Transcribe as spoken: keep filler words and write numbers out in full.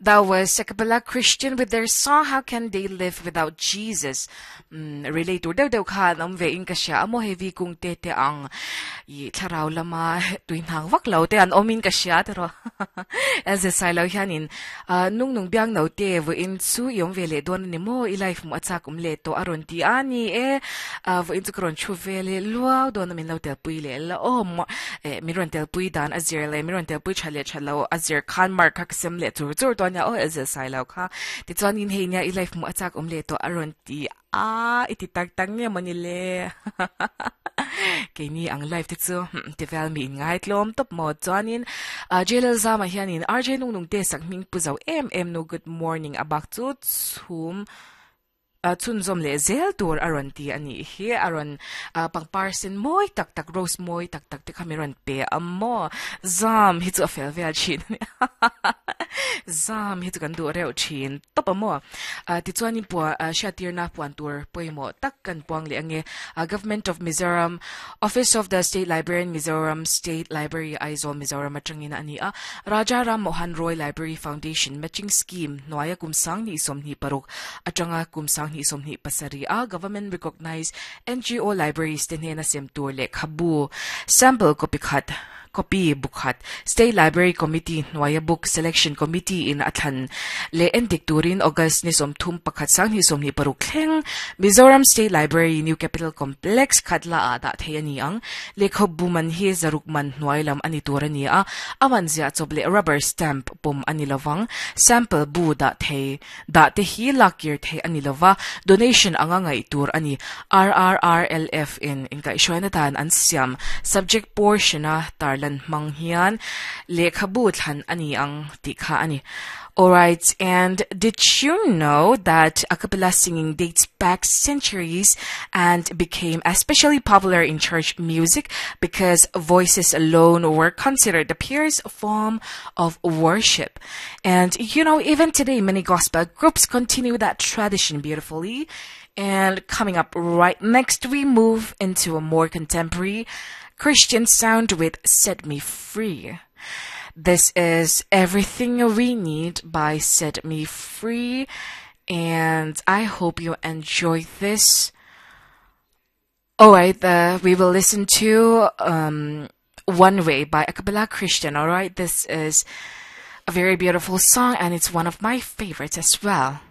That was A Cappella Christian with their song How Can They Live Without Jesus. Mm, relate tur deuh deuh khan awm ve in ka hria a maw heavy kung te te ang i thlarau lama tui hnang vak lo te an awmin ka hria te ro as a silo hianin uh, nung nung biang no te vo in chu i awm ve leh dawn ani maw i life mu a chak awm leh tawh a rawn ti a ni e uh, vo in chu ka rawn thu ve leh luau dawn a min lo tel pui leh la awm eh min rawn tel pui dan a zir leh min rawn tel pui tha leh tha lo a zir khan mark kha ka sem leh chur chur dawn nia aw as a silo kha tichuan in hei nia i life mu a chak awm leh tawh a rawn ti a iti tak tak nge mawni le keini ang live te chu ti vel mi in ngai tlawm tawp maw chuanin uh, J L Zama hianin R J nung nung te sak hming pu zo em em nu, good morning, abak chu chhum uh, chhunzawm leh zel tur a rawn ti ani hi. A rawn uh, pangpar sen mawi tak tak, rose mawi tak tak te kha mi rawn pe a maw. Zam hi chu a fel vel thin, zam hi chu kan duh reuh thin tawp a maw. uh, tichuanin pua uh, hriattirna puan tur pawimawh tak kan puang leh ange. uh, Government of Mizoram, Office of the State Librarian, Mizoram State Library, Aizawl, Mizoram atangin ani a. Raja Ram Mohan Roy Library Foundation Matching Scheme hnuaia kum sang ni sawmhnih paruk atanga kum sang ni sawmhnih pasarih a government recognized N G O libraries te hnena sem tur lehkhabu sample copy khat, copy bukhat, State Library Committee hnuaia Book Selection Committee in athlan le endik turin August ni sawmthum pakhat sang ni sawmhnih paruk thleng Mizoram State Library, New Capital Complex, Khatla a dah thei ani ang. Lehkhabu man hi zaruk man hnuai lam ani tur ani a, aman zia chawp leh rubber stamp pawm ani lovang. Sample bu dah thei dah te hi lakir thei ani lova, donation anga ngai tur ani. R R R L F in inkaihhruaina dan an siam subject portion a tarlan hmang hian lehkhabu thlan ani ang tih kha ani. Alright, and did you know that a cappella singing dates back centuries and became especially popular in church music because voices alone were considered the purest form of worship? And you know, even today, many gospel groups continue that tradition beautifully. And coming up right next, we move into a more contemporary Christian sound with Set Me Free. This is Everything We Need by Set Me Free, and I hope you enjoy this. Alright, uh, we will listen to um, One Way by A Cappella Christian. Alright, this is a very beautiful song and it's one of my favorites as well.